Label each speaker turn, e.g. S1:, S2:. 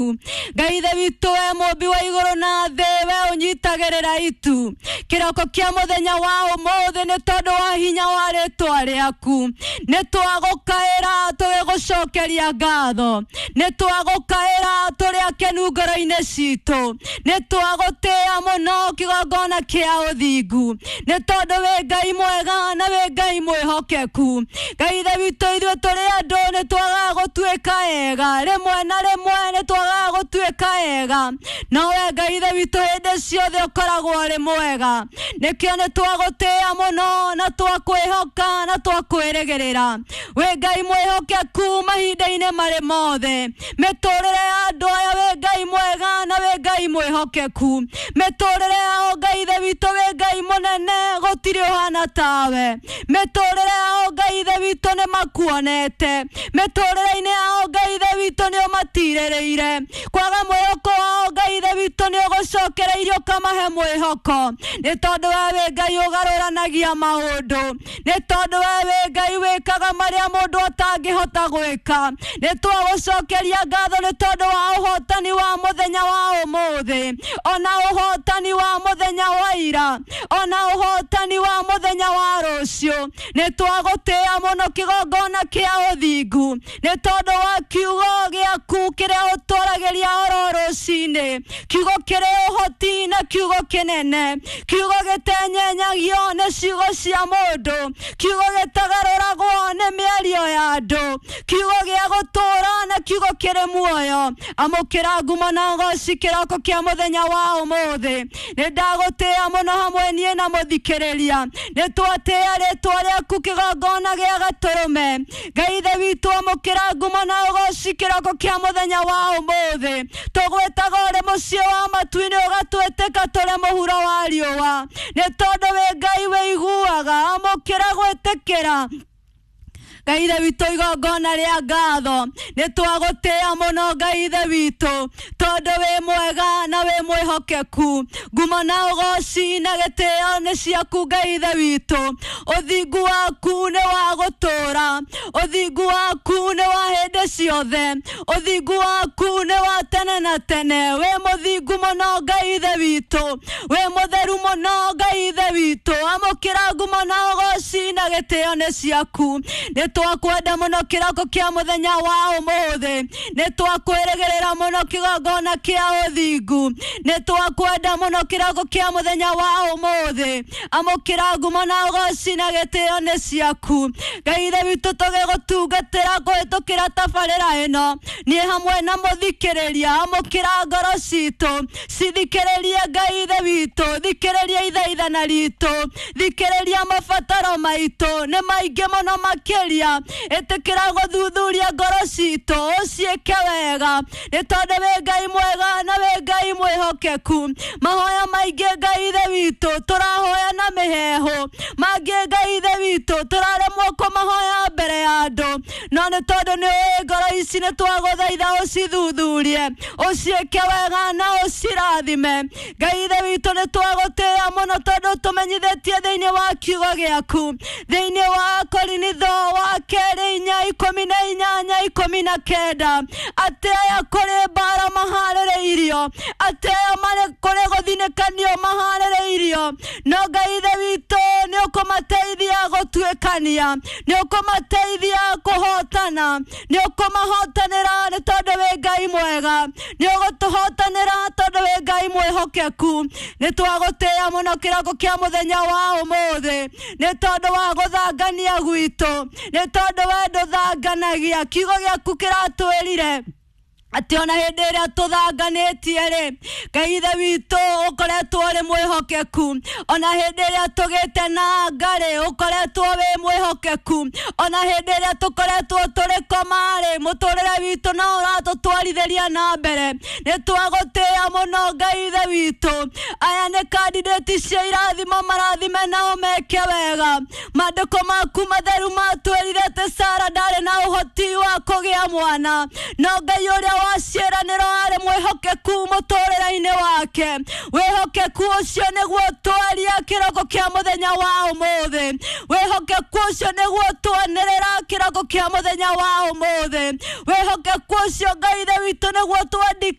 S1: Ngai ithe witũ we mũmbi wa igũrũ na thĩ, we ũnyitagĩrĩra itu kĩroko kĩa mũthenya wa ũmũthĩ nĩ tondũ wa hinya wa rĩtwa rĩaku. Nĩ twagũkaĩra tũgĩgũcokeria ngatho, nĩ twagũkaĩra tũrĩ akenu ngoro-inĩ citũ, nĩ twagũtĩĩa mũno kĩgongona kĩa ũthingu, nĩ tondũ wĩ Ngai mwega na wĩ Ngai mwĩhokeku. Ngai ithe witũ, ithuĩ tũrĩ andũ nĩ twagaga gũtuĩka ega, rĩmwe na rĩmwe nĩ twagaga gũtuĩka ega, no we Ngai ithe witũ hĩndĩ ciothe ũkoragwo ũrĩ mwega. Nĩkĩo nĩ twagũtĩĩa mũno na twakwĩhoka na twakwĩrĩgĩrĩra. Wĩ Ngai mwĩhokeku mahinda-inĩ marĩ mothe. Mĩtũrĩre ya andũ aya wĩ Ngai mwega na wĩ Ngai mwĩhokeku. Mĩtũrĩre yao Ngai ithe witũ wĩ Ngai mũnene, gũtirĩ ũhana tawe. Mĩtũrĩre yao Ngai ithe witũ nĩ makuonete. Mĩtũrĩre-inĩ yao Ngai ithe witũ nĩ ũmatirĩrĩire. Kwaga mwĩhoko wao Ngai ithe witũ nĩ ũgũcokereirie ũkamahe mwĩhoko, nĩ tondũ we wĩ Ngai ũgarũranagia maũndũ, nĩ tondũ we wĩ Ngai wĩkaga marĩa mũndũ atangĩhota gwĩka. Nĩ twagũcokeria ngatho nĩ tondũ wa ũhotani wa mũthenya wa ũmũthĩ, ona ũhotani wa mũthenya wa ira, ona ũhotani wa mũthenya wa rũciũ. Nĩ twagũtĩĩa mũno kĩgongona kĩa ũthingu, nĩ tondũ wa kiugo gĩaku kĩrĩa ũtwaragĩria oro rũcinĩ, kiugo kĩrĩ ũhoti na kiugo kĩnene, kiugo gĩtenyenyagio nĩ ciugo cia mũndũ, kiugo gĩtagarũragwo nĩ mĩario ya andũ, kiugo gĩa gũtũũra na kiugo kĩrĩ muoyo. Amũkĩra ngumo na ũgoci kĩroko kĩa mũthenya wa ũmũthĩ. Nĩ ndagũtĩĩa mũno hamwe niĩ na mũthikĩrĩria. Nĩ twatĩĩa rĩtwa rĩaku kĩgongona gĩa gatũrũme. Ngai ithe witũ, amũkĩra ngumo na ũgoci kĩroko kĩa mũthenya wa ũmũthĩ. Tũgwĩtaga ũrĩ mũciĩ wa matu-inĩ, ũgatwĩtĩka tũrĩ mũhuro wa riũa, nĩ tondũ wĩ Ngai wĩiguaga. Amũkĩra gwĩtĩkĩra Ngai ithe witũ igongona rĩa ngatho. Nĩ twagũtĩĩa mũno Ngai ithe witũ, tondũ wĩ mwega na wĩ mwĩhokeku. Ngumo na ũgoci na gĩtĩo nĩ ciaku Ngai ithe witũ. Ũthingu waku nĩ wa gũtũũra, ũthingu waku nĩ wa hĩndĩ ciothe, ũthingu waku nĩ wa tene na tene. Wĩ mũthingu mũno Ngai ithe witũ, wĩ mũtheru mũno Ngai ithe witũ. Amũkĩra ngumo na ũgoci na gĩtĩo nĩ ciaku. Nĩ twakwenda mũno kĩroko kĩa mũthenya wa ũmũthĩ, nĩ twakwĩrĩgĩrĩra mũno kĩgongona kĩa ũthingu, nĩ twakwenda mũno kĩroko kĩa mũthenya wa ũmũthĩ. Amũkĩra ngumo na ũgoci na gĩtĩo nĩ ciaku. Ngai ithe witũ, tũgĩgũtungatĩra kũhĩtũkĩra tabarĩra ĩno, niĩ hamwe na mũthikĩrĩria, amũkĩra ngoro citũ cithikĩrĩrie Ngai ithe witũ, thikĩrĩria ithaithana ritũ, thikĩrĩria mabataro maitũ nĩ maingĩ mũno makĩria. Ĩtĩkĩra gũthuthuria ngoro citũ, ũciĩke wega, nĩ tondũ wĩ Ngai mwega na wĩ Ngai mwĩhokeku. Mahoya maingĩ Ngai ithe witũ tũrahoya na mĩheehũ, mangĩ Ngai ithe witũ tũraremwo kũmahoya mbere ya andũ, no nĩ tondũ nĩ ũĩ ngoro ici, nĩ twagũthaitha ũcithuthurie, ũciĩke wega na ũcirathime. Ngai ithe witũ, nĩ twagũtĩĩa mũno tondũ tũmenyithĩtie thĩinĩ wa kiugo gĩaku, thĩinĩ wa Korinitho wa kerĩ 4:18:19, atĩ aya kũrĩ mbara maharĩrĩirio, atĩ aya marĩ kũrĩ gũthinĩkanio maharĩrĩirio, no Ngai ithe witũ nĩ ũkũmateithia gũtuĩkania, nĩ ũkũmateithia kũhotana, nĩ ũkũmahotanĩra, nĩ tondũ wĩ Ngai mwega. Nĩ ũgũtũhotanĩra tondũ wĩ Ngai mwĩhokeku. Nĩ twagũtĩĩa mũno kĩroko kĩa mũthenya wa ũmũthĩ, nĩ tondũ wa gũthangania gwitũ, nĩ tondũ we ndũthanganagia. Kiugo gĩaku kĩratwĩrire atĩ ona hĩndĩ ĩrĩa tũthanganĩtie rĩ, Ngai ithe witũ ũkoretwo ũrĩ mwĩhokeku. Ona hĩndĩ ĩrĩa tũgĩte na ngarĩ, ũkoretwo wĩ mwĩhokeku. Ona hĩndĩ ĩrĩa tũkoretwo tũrĩ koma-rĩ, mũtũrĩre witũ no ũratũtwarithĩria na mbere. Nĩ twagũtĩĩa mũno Ngai ithe witũ. Aya nĩ kandidati cia irathimo, marathime nao meke wega. Maandĩko maku matheru matwĩrire atĩ Sara ndarĩ na ũhoti wa kũgĩa mwana, no Ngai ũrĩa wa ciĩranĩro arĩ mwĩhokeku mũtũrĩre-inĩ wake. Wĩhokeku ũcio nĩguo twaria kĩroko kĩa mũthenya wa ũmũthĩ. Wĩhokeku ũcio nĩguo twanĩrĩra kĩroko kĩa mũthenya wa ũmũthĩ. Wĩhokeku ũcio Ngai ithe witũ nĩguo twandĩka.